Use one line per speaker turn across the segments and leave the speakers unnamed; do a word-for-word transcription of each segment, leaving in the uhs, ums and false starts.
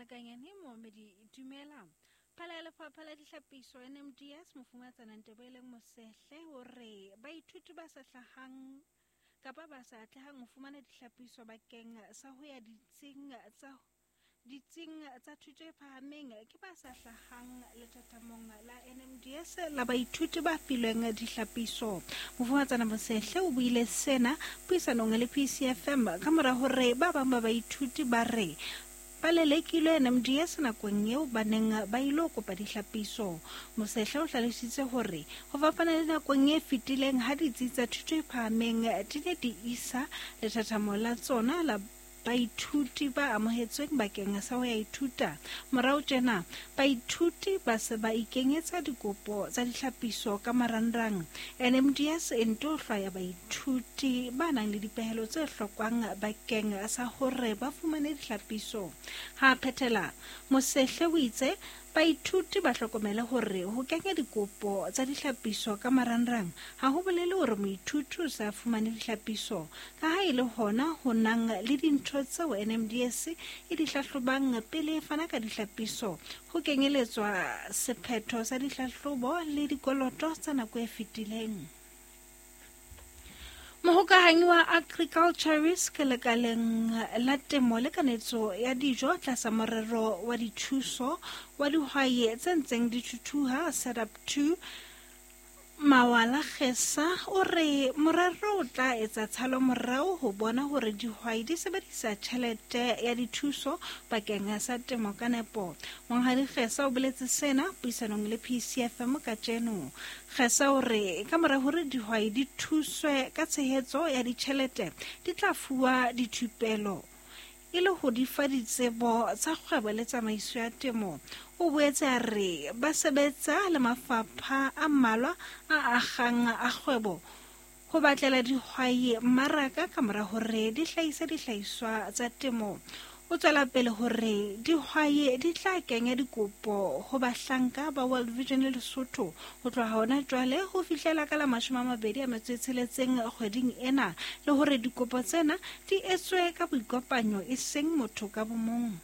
Mahlakanyane Moomedi dumela. Phala ya lefapha la dihlapiso N M D S Mofumatsana Nteboheleng Mosehle o re baithuti ba sa hlahang kapa ba sa atlehang ho fumana dihlapiso bakeng sa ho ya ditsing tsa ditsing tsa thuto e phahameng ke ba sa hlahang lethathamong la N M D S la baithuti ba filweng dihlapiso. Mofumatsana Mosehle o buile sena puisanong le P C F M ka mora hore ba bang ba baithuti ba re ba lelekilwe N M D S nakong eo ba neng ba ilo kopa dihlapiso. Mosehle o hlalositse hore ho fapana le nakong e fetileng ha ditsi tsa thuto e phahameng di ne di isa lethathamo la tsona la baithuti ba amohetsweng bakeng sa ho ya ithuta. Morao tjena baithuti ba se ba ikenyetsa dikopo tsa dihlapiso ka marangrang. N M D S e nto hlwaya baithuti ba nang le dipehelo tse hlokwang bakeng sa hore ba fumane dihlapiso. Ha phethela, Mosehle o itse baithuti ba hlokomele hore ho kenya dikopo tsa dihlapiso ka marangrang ha ho bolele hore moithuti o sa fumane dihlapiso, ka ha e le hona ho nang le dintho tseo N M D S e di hlahlobang pele e fana ka dihlapiso, ho kenyeletswa sephetho sa dihlahlobo le dikoloto tsa nako e fetileng. Mohokahanyi wa Agriculture Risk lekaleng la temo le kanetso ya dijo tlasa morero wa dithuso wa dihwai tse ntseng di thuthuha Setup two Mawala Kgesa o re morero o tla etsa tshalomorao ho bona hore dihwai di sebedisa tjhelete ya dithuso bakeng sa temo ka nepo. Monghadi Kgesa o boletse sena puisanong le P C F M kajeno. Kgesa o re ka mora hore dihwai di thuswe ka tshehetso ya ditjhelete di tla fuwa dithupelo e le ho di fa ditsebo tsa kgwebo le tsamaiso ya temo. O boetse a re ba sebetsa le mafapha a mmalwa a akgang a kgwebo ho batlela dihwai mmaraka ka mora hore di hlahise dihlahiswa tsa temo. O tswela pele hore dihwai di tla kenya dikopo ho bahlanka ba World Vision le Lesotho ho tloha hona jwale ho fihlela ka la mashome a mabedi a metso e tsheletseng kgweding ena, le hore dikopo tsena di etswe ka boikopanyo e seng motho ka bomong.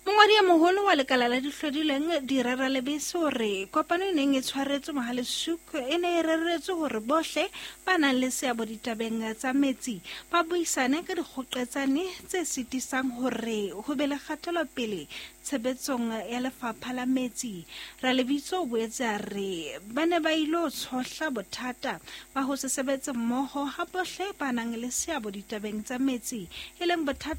Mongwadi e moholo wa lekala la dihlodileng Direra Lebese o re kopano e neng e tshwaretswe Mohale'shoek e ne e reretswe hore bohle ba nang le seabo ditabeng tsa metsi ba buisane ka dikgoqetsane tse sitisang hore ho be le kgatelopele tshebetsong ya lefapha la metsi. Ralebitso o boetse a re ba ne ba ilo tshohla bothata ba ho se sebetse mmoho ha bohle ba nang le seabo ditabeng tsa metsi, e leng bothata